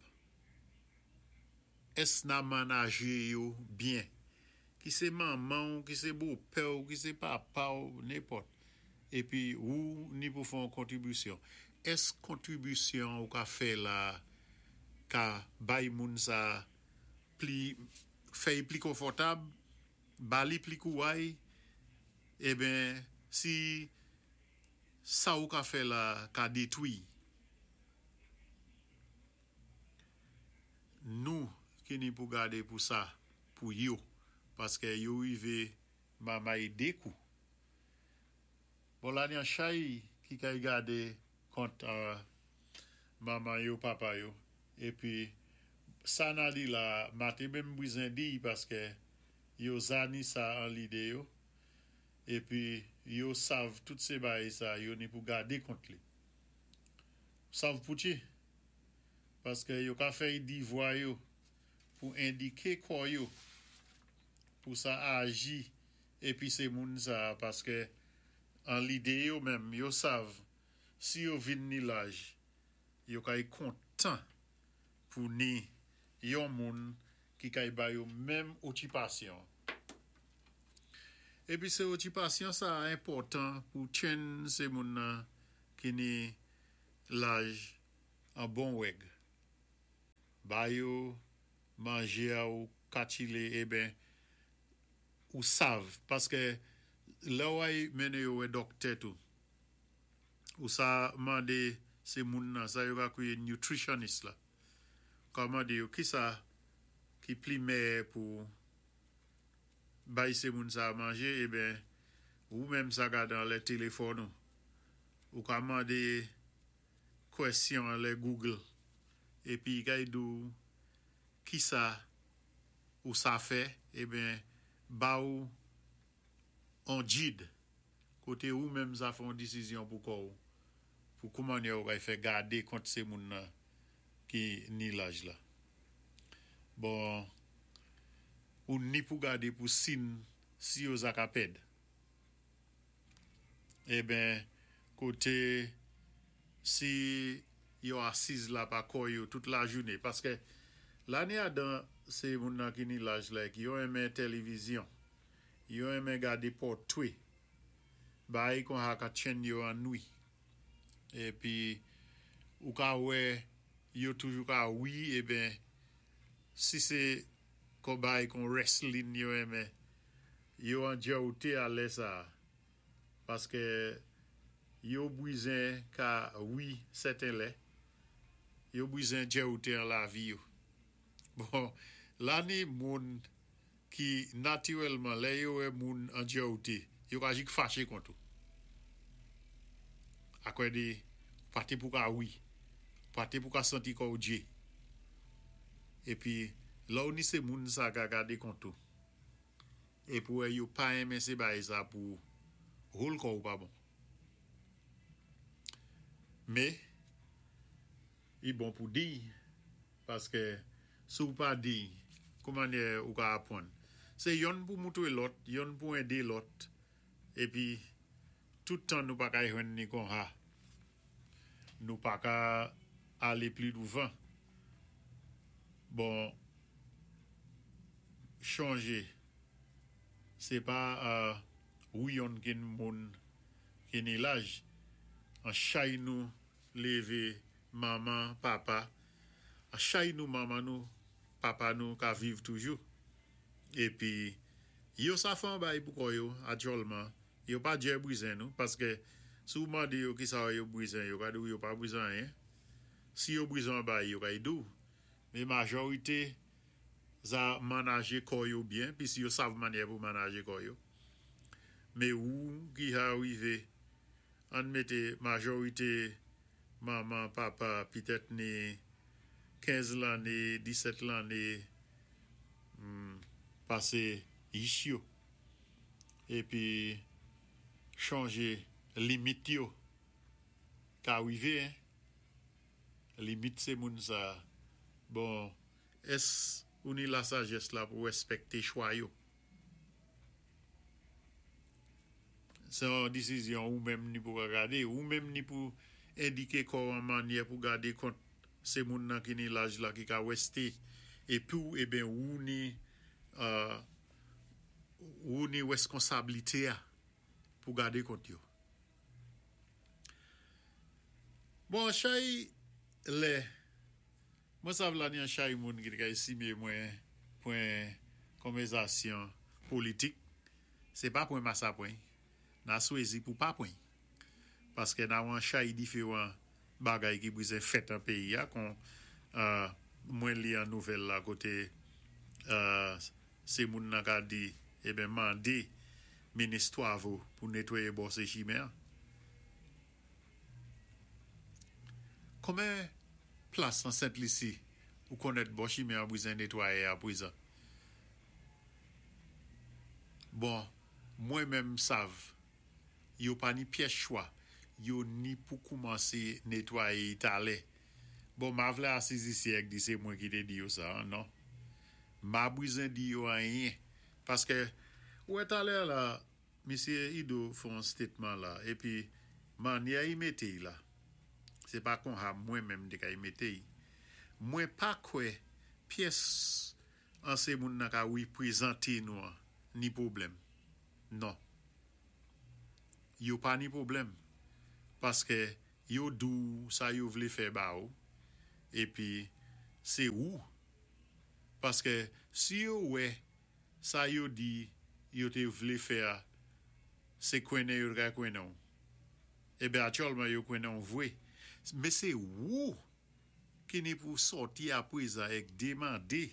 Ès na manaje yo byen? Ki se manman w, ki se bopè w, ki se papa w, nenpòt. Épi ou ni pou fè yon kontribisyon. Ès kontribisyon ou ka fè la ka bay moun sa pli, fè y pli konfòtab? Ba li pli kouray, eben si sa ou ka fè la ka detwi nou ki ni pou gade pou sa pou yo paskè yo rive mamay de kou. Bon la ni an chay ki kay gade kont manman yo papa yo epi sa na di la mate menm bwizen diy paskè yo zani sa an lide yo epi yo sav tout se bay sa yo ni pou gade kont li sav pouti paskè yo ka fèy di vwa yo pou endike kò yo pou sa aji epi se moun sa paskè an lide yo menm yo sav si yo vin ni laj yo kay kontan pou ni yon moun ki kay ba yo menm okipasyon. Épi sé okipasyon sa-a enpòtan pou tchenn sé moun nan ki ni laj an bon wèg. Ba yo manjé-a ou katchilé eben ou sav paskè lè ou ay mennen yo wè dòktè tou ou sa mande sé moun nan sa yo ka kwiyé nutritionist la ou ka mande yo kisa ki pli mèyè pou bay se moun sa manje eben ou menm sa gad anlè telefòn ou ou ka mande kwèsyon anlè google epi y kay di w kisa ou sa fè eben ba ou on gid kote ou menm sa fè on disizyon pou kò w pou koumannyè ou kay fè gade kont se moun nan ki ni laj la. Bon ou ni pou gade pou sin si yo za ka pèd. Eben kote si yo asiz la pa kò yo tout lajoune paske lane adan se moun nan ki ni laj la ki yo enmen tèlevizyon yo enmen gade pòtwe bay kon ha ka tchenn yo annwi. Epi ou ka wè yo toujou ka wi eben si se kon bay kon wrestling yo renmen yo andjòwte a lè sa paske yo bwizen ka wi sèten lè yo bwizen djèwte an lavi yo bon la ni moun ki natirèlman lè yo wè moun andjòwte yo ka jik fache kont ou akwè de ou pa te pou ka wi ou pa te pou ka santi kò ou dje epi lè ou ni se moun sa ka gade kont ou epi ou wè yo pa enmen se bay sa pou ou hol kò ou pa bon me I bon pou diy paskè si w pa diy kouman yè ou ka apwann. Se yonn pou moutre lòt, yonn pou ende lòt epi tout tan nou pa ka jwenn ni kon ha. Nou pa ka ale pli douvan. Bon chonje se pa ou yonn ki n moun ki ni laj an chay nou leve manman papa an chay nou manman nou papa nou ka viv toujou epi yo sa fè an bay pou kò yo atyòlman yo pa djè brizen nou paske si w mande yo kisa yo brizen yo ka di w yo pa brizen anyen si yo brizen an bay yo kay di w men majorite za manaje kò yo byen pis yo sav manyè pou manaje kò yo men ou ki ha rive Ann mete majorite manman, papa pitèt ni 15 lanne, 17 lanne pase yich yo epi chonje limit yo ka rive hein limit se moun sa bon ès ou ni lasajès la pou rèspèkte chwa yo. Se yon desizyon ou menm ni pou ka gade, ou menm ni pou endike kò an manyè pou gade kont se moun nan ki ni laj la ki ka weste epi w eben ou ni ou ni reskonsablite a pou gade kont yo. Bon chay lè. Mwen sav la ni an chay moun ki te ka estime mwen pwen konvèzasyon politik, se pa pwen masa pwen, na swezi pou pa pwen. Paske na wan chay diferan bagay ki brizen fèt an peyi a kon mwen li an nouvèl la kote se moun nan ka di eben mande minis twavo pou netwaye bò se chimen an. Konben plas nan Sent Lisi ou konnèt bò chimen an brizen netwaye a pwezan? Bon, mwen menm sav, yo pa ni pyès chwa, yo ni pou koumanse netwaye y talè. Bon, ma vle asiz isi èk di se mwen ki te di yo sa an, non. Ma brizen di yo anyen. Paske, ou wè talè la, Misye Ido fè yon statement la epi manyè i mete y la se pa konha mwen menm te ka y mete y. Mwen pa kwè pyès an se moun nan ka reprezante nou an ni pwoblèm. Non. Yo pa ni pwoblèm paskè yo di-w sa yo vlé fè ba ou épi sé ou paskè si yo wè sa yo di yo té vlé fè a sé kwennen yo t ka kwennen-w eben aktyèlman yo kwennen-w vwé men sé wou ki ni pou sòti aprezan èk demandé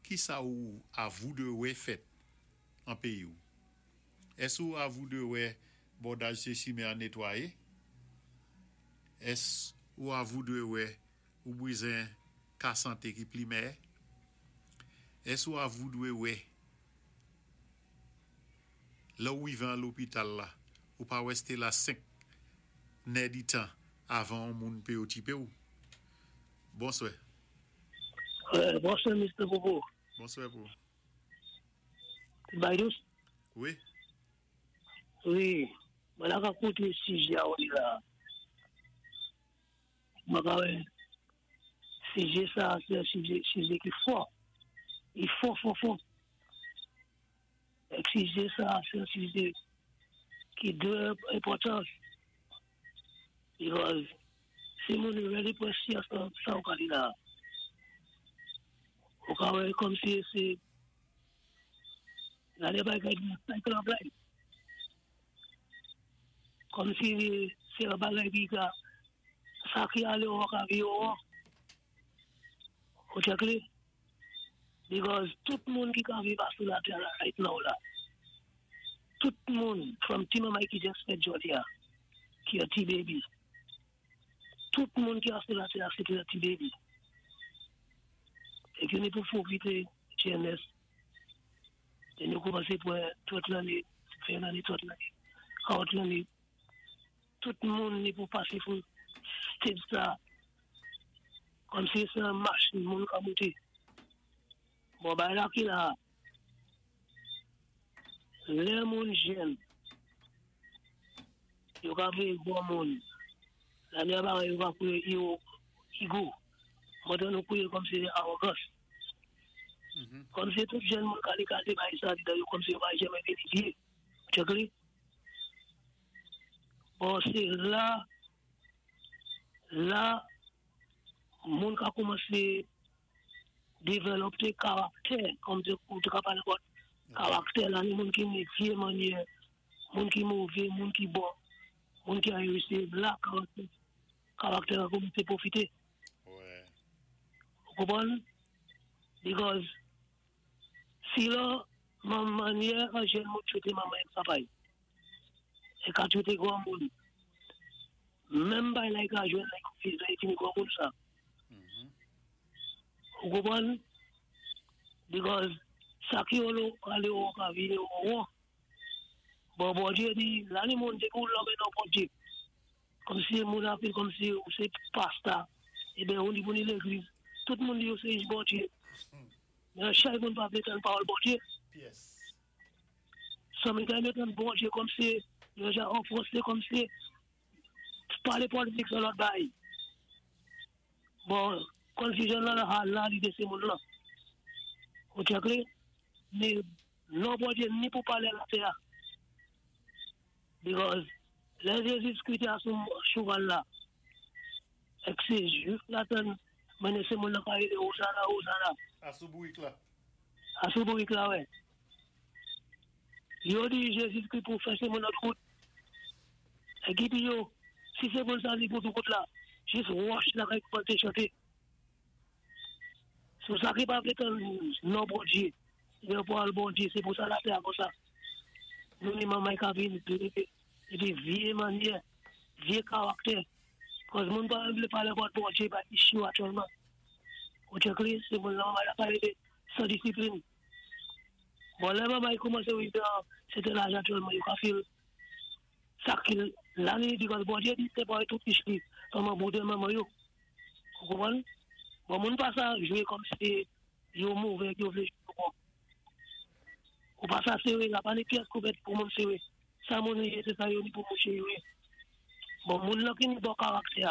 kisa ou a voudwè fèt an péyi-w. Ès ou a voudwè bòdaj sé chimen an netwayé? Ès ou a voudwè ou bwizen ka santé ki pli mèyè? Ès ou a voudwè lè ou wivé an lopital la ou pa wèsté la 5 nè di tan avan on moun pé otipe-w? Bonswè. Bonswè Mister Popo. Bonswè pou. Baidous? Wi. Wi, mwen la ka koute sijè a ou di la. Mwen ka wè sijè sa a se yon sijè sijè ki fò. Li fò fò fò. Ek sijè sa a se yon sijè ki dwe enpòtans. Because si moun yo really pran syans nan sa ou ka di la a. Ou ka wè kòmsi se gade bagay ki nan cycle of life. Kòmsi se yon bagay ki ka sa ki ale ou ka vire ou. Ou check li? Because tout moun ki ka viv sou latè la right now la. Tout moun from ti manman ki just fèt jodi a, ki yon ti baby. Tout moun ki sou latè a se yon ti baby. É ki nou pou pwofité jenès. É nou koumansé pou 30 lanné, 20 lanné, 30 lanné, 40 lanné. Tout moun ni pou pasé pou stage sa. Kòm si sé yon machin moun ka monté. Bon, bagay la ki la. Lè moun jèn, yo ka vlé bon moun. La mè bagay yo ka kwié ego, ego. Mwen nou kwié kòm si awogans. Kòm si tout jèn moun ka li ka di bagay sa yo kòm si yo pa janmè vini vyé. Check li? Bon, sé la, la, moun ka koumansé dévelopé karaktè, kòm si ou té ka palé about karaktè la, ni moun ki ni vyé mannyè, moun ki mové, moun ki bon, moun ki a réussi, la karaktè, karaktè a koumansé pwofité. Ou konpwann? Because si la mannyè an jèn moun trété manman é papa é ka trété gran moun, menm bagay la i ka jwenn lè lè i fini gran moun sa. Ou konpwann? Because sa ki yo alé ou ka vini ou won. Bon, Bondyé di, la ni moun dépi ou lonmen non Bondyé. Kòm si moun ap kòm si ou sé pastè, eben ou ni pou ni légliz. Tout moun di yo sé Bondyé. Men chak moun pa vlé tann pawòl Bondyé. San mwen ta tann Bondyé kòm si yo jan an fransé kòm si palé politik sé lòt bagay. Bon, confusion la la la li sé moun la. Ou check li? Ni non Bondyé ni pou palé latè. Because lè Jésus Christ a sou chouval la, é sé jwif la tann mennen sé moun la ka rélé Ozana, Ozana. A sou bourik la. A sou bourik la, wè. Yo di Jésus Christ pou fè sé moun lòt kout. É ki di yo, si sé moun sa li pou tout kout la, jis wòch la ka koumansé chanté. Sou sa ki pa vlé tann non Bondyé, yo pou al Bondyé, sé pou sa latè a kon sa. Nou ni manman ka vin épi vyé mannyè, vyé karaktè. Paski moun pa vlé palé about Bondyé pa issue aktyèlman. Ou check li, sé moun la manman la pa rélé san disiplin. Bon, lè manman koumansé rivé an sèten laj aktyèlman, yo ka feel sa ki la ni because Bondyé di séparé tout ish li, manman boude manman yo. Ou konpwann? Bon, moun pa sa jwé kòm si yo mové, yo vlé jwé bon. Ou pa sa séré, la pa ni pyès kouvèt pou moun séré. Sa moun yé, sé sa yo ni pou mouché yo yé. Bon, moun la ki ni bon karaktè,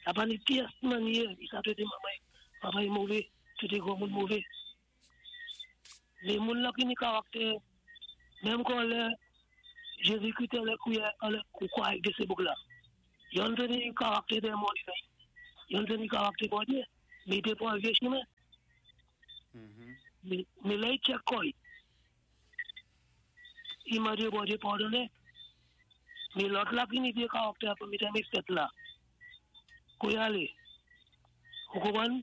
la pa ni pyès mannyè, i sa trété manman, papa i mové, trété gran moun mové. Lé moun la ki ni karaktè, menm kon lè Jésus-Christ anlè kouwè anlè kwa èk sé bouk la. Youn té ni karaktè dé moun, youn té ni karaktè Bondyé, mé i té pwan vyé chimen. Mé lè i tchèk kò-y, i mandé Bondyé padonnen. Mé lòt la ki ni vyé karaktè pou mitan mé fèt la. Kou i alé. Ou konpwann?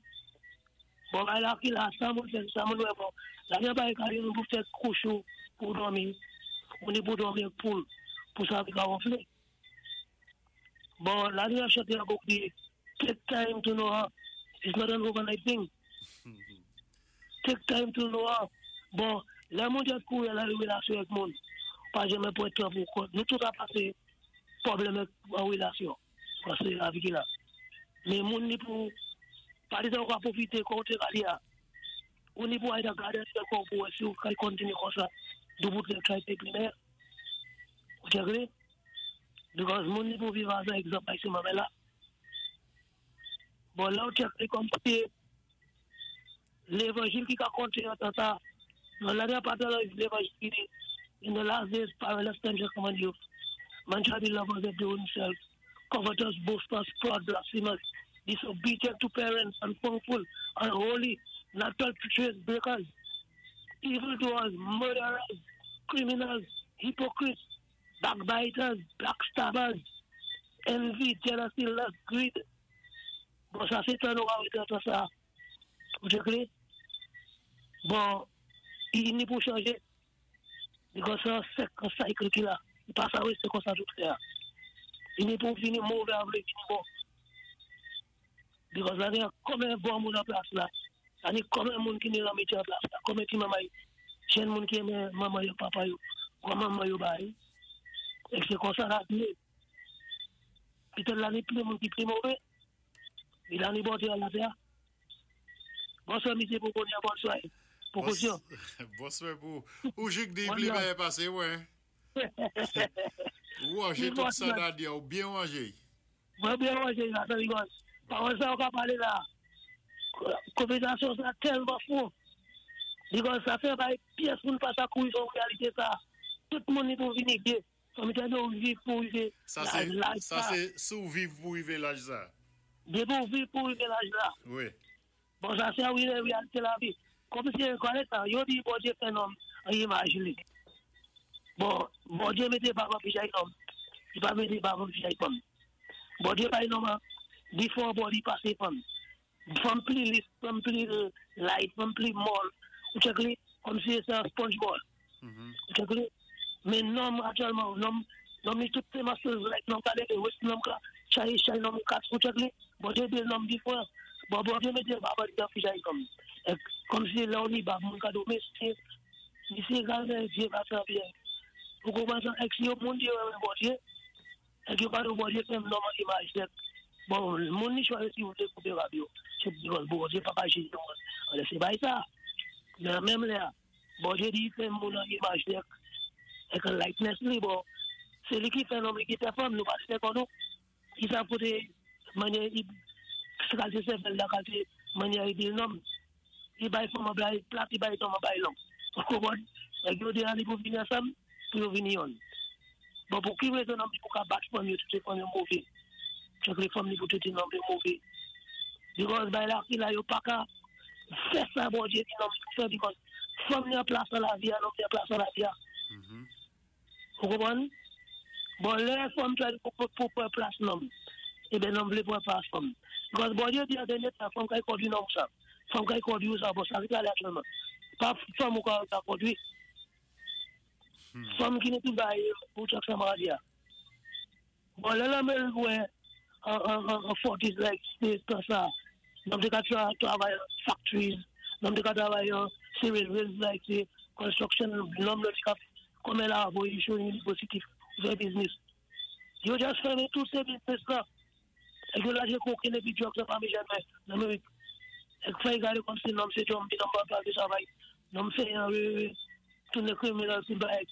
Bon, bagay la ki la, sa moun fè, sa moun wè bon. La gen bagay ka yon pou fè kouch ou pou dòmi, ou ni pou dòmi ak poul, pou sa ka wonflé. Bon, la ni ap chanté an bouk di, "Take time to know her. It's not an overnight thing. Take time to know her." Bon, lè moun ap kouri la relasyon ak moun, pa janmè pwan tan pou kont. Nou tout ap pasé pwoblèm an relasyon. Paské lavi ki la. Mé moun ni pou pa di ou ka pwofité koté kali a. Ou ni pou ay nan gade kò pou wè si ou ka kontinyé konsa, doubout lè try pé pli meyè. Ou tchèk? Because moun ni pou viv as an egzanp ay sé manmè la. Bon, la ou tchèk li kòm si lévanjil ki ka konté an tan sa, nan la pa tan lévanjil ki di, "In the last days, perilous times shall come on you. Man shall be lovers of their own self, covetous, boasters, proud, blasphemous, disobedient to parents, unthankful, unholy, not truce breakers, evildoers, murderers, criminals, hypocrites, backbiters, backstabbers, envy, jealousy, lust, greed." Bon, sa sé tan nou ka sa. Ou tchèk? Bon, i ni pou chanjé. Because sé yon cycle ki la. I pa sa wé, sé konsa tout fè. I ni pou vini mové avè vini bon. Because la, ni konbyen bon moun an plas la. La ni konbyen moun ki ni lanmityé an plas la. Konbyen ti manman, jenn moun ki renmen manman yo, papa yo, granmanman yo bay. É sé konsa la vi. Petèt la ni plis moun ki pli mové. Mé la ni bonté an latè. Bonswa misyé pou konnen bonswa. Pou kosyon. Bonswa pou ou jik di pli byen pasé wè. Ou wanjé tout sa nan di ou byen wanjé. Mwen byen wanjé la, sa because pawòl sa ou ka palé la. Konvèsasyon sa tèlman fou. Because sa fè bay pyès moun pa sa kouri son réalité sa. Tout moun ni pou vini gyé. Fò mi tande ou viv pou rivé Sa sé laj sa sé si ou viv pou rivé laj sa. Dé pou viv pou rivé laj la. Wi. Bon, sa sé wi réalité lavi. Kòm si kòrèk sa, yo di Bondyé fè nonm an imaj li. Bon, Bondyé mété bab an fijay nonm. I pa mété bab an fijay fanm. Bondyé bay nonm an before body pasé fanm. Fanm pli lis, fanm pli light, fanm pli mòl. Ou tchèk li kòm si sé yon sponge ball. Ou tchèk li? Mé nonm aktyèlman, nonm nonm li tout sé muscles like nonm ka lévé waist, nonm ka chay chay nonm ka ou tchèk li? Bondyé di nonm diferan. Bon, Bondyé mété bab an fijay nonm. É kòm si lè ou ni bab moun ka di misyé, misyé gadé vyé bab sa byen. Ou konpwann sa? É si yo moun di yo renmen Bondyé, é yo pa di Bondyé fè nonm an imaj tèt. Bon, moun ni chwazi si ou vlé koupé bab yo. Sé because Bondyé pa jijé moun. Alò sé bay sa. Mé menm la, Bondyé di fè moun an imaj tèt. Èk an likeness li, bon, sé li ki fè nonm, li ki fè fanm, nou pa fè kon nou. I sa koté manyè i kalité sèvèl la kalité manyè i di nonm. I bay fanm an bay plat, i bay nonm an bay long. Ou konpwann? Èk yo dé ale pou vini ansanm, pou yo vini yonn. Bon, pou ki rézon nonm pou ka bat fanm yo, tout fanm yo mové. Chak lè fanm ni pou tout nonm yo mové. Because bay la ki la yo pa ka fè sa Bondyé di nonm pou fè because fanm ni an plas nan lavi a, nonm ni an plas nan lavi a. Ou konpwann? Bon, lè fanm try pou pwan plas nonm, ében nonm vlé pwan plas fanm. Because Bondyé di an dènyé tan, fanm kay kondwi nonm sa. Fanm kay kondwi ou sa, bon, sa ki pral aktyèlman. Pa fanm ou ka kondwi. Fanm ki ni tout bay pou chak sa ma di a. Bon, lè la mè wè an 40s like sé sa. Nonm té ka travay factories, nonm té ka travay an civil mills like sé construction, nonm lè té ka konbyen la voyé sou university fè business. Yo just fèmen tout sé business la. É yo lajé kokenn épi drugs la pami jèn mè nan Amerik. É fè gade kòm si nonm sé zombie, nonm pa pral de travay. Nonm fè yon tounen criminal si bay.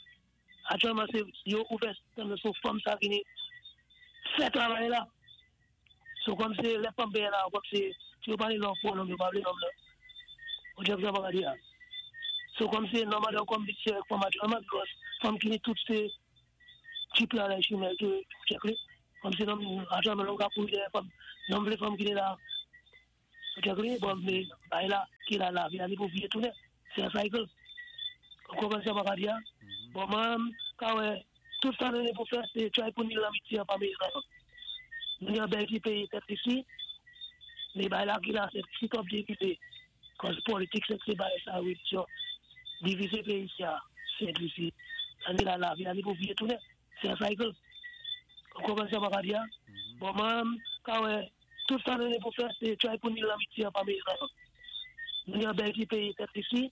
Aktyèlman sé yo ouvè système sou fanm sa vini fè travay la. So kòm si lè fanm péyé la, kòm si si yo palé lò fò nonm yo pa vlé nonm nan. Ou tchèk sa pa di a. So kòm si nonm an konpetisyon ak fanm aktyèlman because fanm ki ni tout sé. Jeep la, lè chimè, tou, check li. Kòm si nonm, ajan nonm ka kouri dèyè fanm. Nonm vlé fanm ki té la. Check li, bon, mé, bagay la, ki la lavi a, li pou viyé tounen. Sé yon cycle. Ou konprann sa mwen ka di a? Bon, mwen, ka wè, tout sa nou ni pou fè, sé try pou ni lanmitye pami nou. Nou ni yon bèl ti péyi Sent Lisi, mé bagay la ki la, se si twòp divizé. 'Cause politik se ti bagay sa relijyon divizé péyi sa, Sent Lisi. Sa ni la lavi a, li pou viyé tounen. Se yon cycle. Ou konprann sa mwen ka di a? Bon, mwen, ka wè, tout sa nou ni pou fè, sé try pou ni lanmitye pami nou. Nou ni yon bèl ti péyi Sent Lisi.